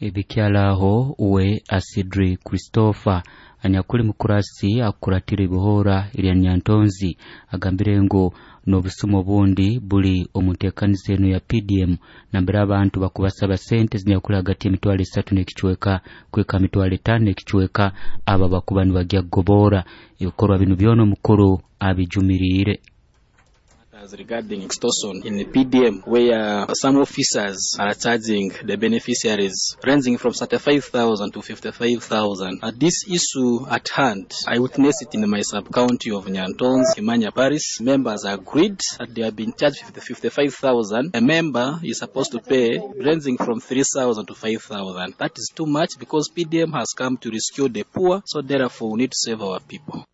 Ebikyalaho uwe Asidri Christopher anyakuli mukurasi akukuratira ibihoora erya Nyantonzi agambire ngu n'obusumo obundi buli omu nteekaniza enu ya PDM nambere abantu bakubasaba sente zinyakuli hagati y'emitwaro 3 n'ekicweka kweka mitwaro 5 n'ekicweka aba bakuba nibagya kugoboora. Ebikorwa binu byona omukuru abijumiriire. Regarding extortion in the PDM, where some officers are charging the beneficiaries ranging from 35,000 to 55,000. This issue at hand, I witnessed it in my sub-county of Nyantonzi, Kimanya Parish. Members agreed that they have been charged 55,000. A member is supposed to pay ranging from 3,000 to 5,000. That is too much because PDM has come to rescue the poor, so therefore we need to save our people.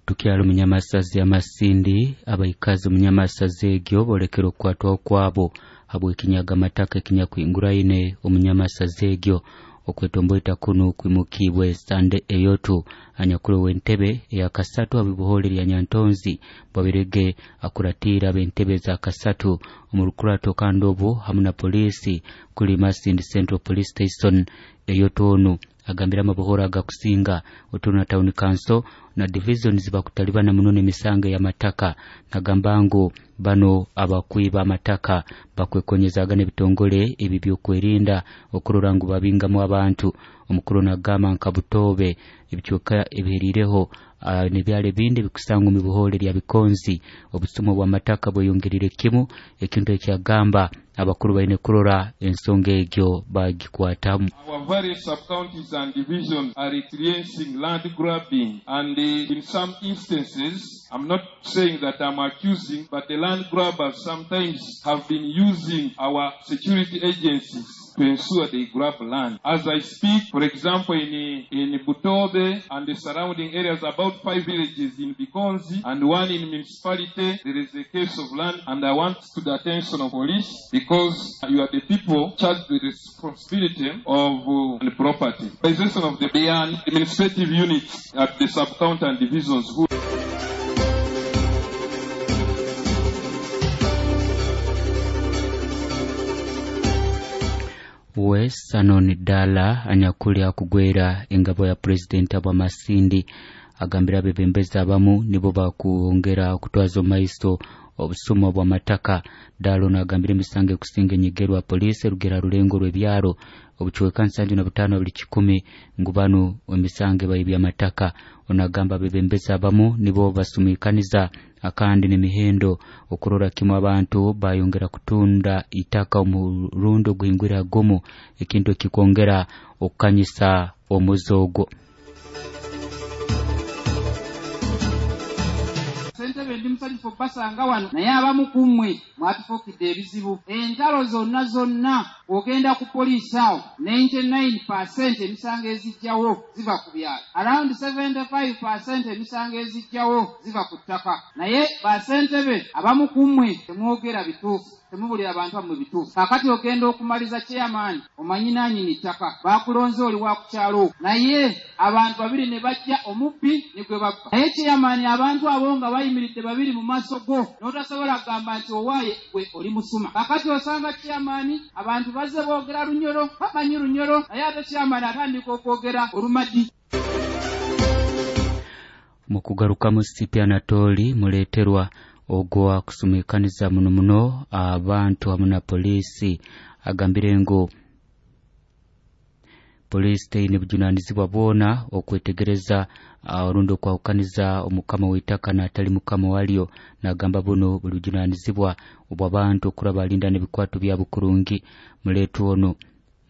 Tukyalo munyamasazi amasindi abaikazi omunyamasazi egyo bolekera okukwatwaho kwabo habw'ekinyaga amataka ekinyakwinguraine omunyamasazi egyo. Okwetomboita kuno kwimukibwe Sande Eyotu anyakuli w'entebe eya kasatu abibuhole lya Nyantonzi Bwabirege akuratira ab'entebe za kasatu omu rukurato kandi obu hamu na polisi kuli Masindi Central Police Station. Eyotu onu agambira amabuhoro agakusinga Otuna Town Council na division zibakutalibana muno n'emisango y'amataka. Nagamba ngu bano abakwiba amataka bakwekonyezaga n'ebitongole ebi by'okwerinda okurora ngu babingamu abantu. Omukuru nagamba nka Butobe ebicweka ebiherireho n'ebyalo ebindi bikusangwa omu bihoole lya Bikonzi obusumo bw'amataka bweyongerire kimu, ekintu ekyagamba abakuru baine kurora ensonga egyo bagikwatamu. Our various sub-counties and divisions are experiencing land grabbing, and in some instances, I'm not saying that I'm accusing, but the land grabbers sometimes have been using our security agencies to ensure they grab land. As I speak, for example, in Butobe and the surrounding areas, about 5 villages in Bikonzi and 1 in municipality, there is a case of land, and I want to the attention of police because you are the people charged with the responsibility of the property. Possession of the administrative units at the sub-county and divisions who We Sanon Dala anyakuli akugwera engabo ya president abwa Masindi agambira abebembezi abamu nibo bakuongera okutwaza omaiso obusumo bw'amataka. Dalo nagambira emisango ekusinga enyigerwa poliisi erugera rulengo rw'ebyaro obucweka 75 buli 10 ngu bano emisango ebaibya amataka. Onagamba abebembezi abamu nibo basumikaniza akandi n'emihendo okurora kimu abantu bayongera kutunda itaka omurundo guhingwira gomu, ekintu ekikwongera okukanyisa omuze ogwo. Ssentebe ndi musanyufu obbasanga wano, naye abamu ku mmwe mwatufuukidde ebizibu. Entalo zonna zonna ogenda ku poliisi awo 99% emisango ezijjawo ziva ku byalo, around 75% emisango ezijjawo ziva ku ttaka. Naye bassentebe abamu ku mmwe temwogera bituufu, temubulira abantu bammwe bituufu. Kaakati ogenda okumaliza chairman omanyi nannyini ttaka, baakulonze oli wa ku kyalo, naye abantu babiri ne bajja omubbi ne gwe babba. Naye chairman abantu abo nga bayimiridde babiri mu maaso go n'otasobola kugamba nti owaaye gwe oli musuma. Kaakati osanga chairman abantu bazze boogera Lunyoro, bamanyi Lunyoro, naye ate chairman atandika okwogera Olumadi. Mu kugarukamu Sipi Anatoli muleeterwa ogwo akusumikaniza muno muno abantu hamu na poliisi agambire ngu poliisi teine bujunanizibwa bwona okwetegereza orundi okwahukaniza omukama w'eitaka n'atali mukama walyo. Nagamba buno buli bujunanizibwa obw'abantu okuraba alinda n'ebikwato byabo kurungi. Muleetwa ono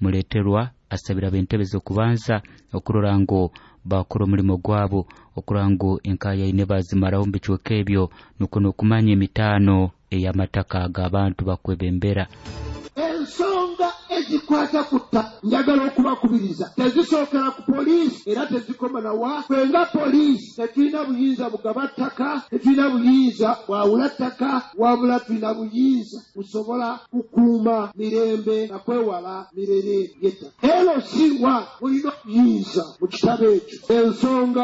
muleeterwa asabira ab'entebe z'okubanza okurora ngu bakora omulimo gwabo, okurora ngu enkayaine bazimaraho omu bicweka ebyo, nukwo n'okumanya emitaano ey'amataka ag'abantu bakwebembera. Ensonga ezikwata ku ttaka njagala okubakubiriza tezisookera ku poliisi era tezikoma na wa. Ffe nga poliisi tetulina buyinza bugaba ttaka, tetulina buyinza bwawula ttaka, wabula tulina buyinza busobola kukuuma mirembe na kwewala mirere y'ettaka. LC1 mulina obuyinza mu kitabo ekyo. Ensonga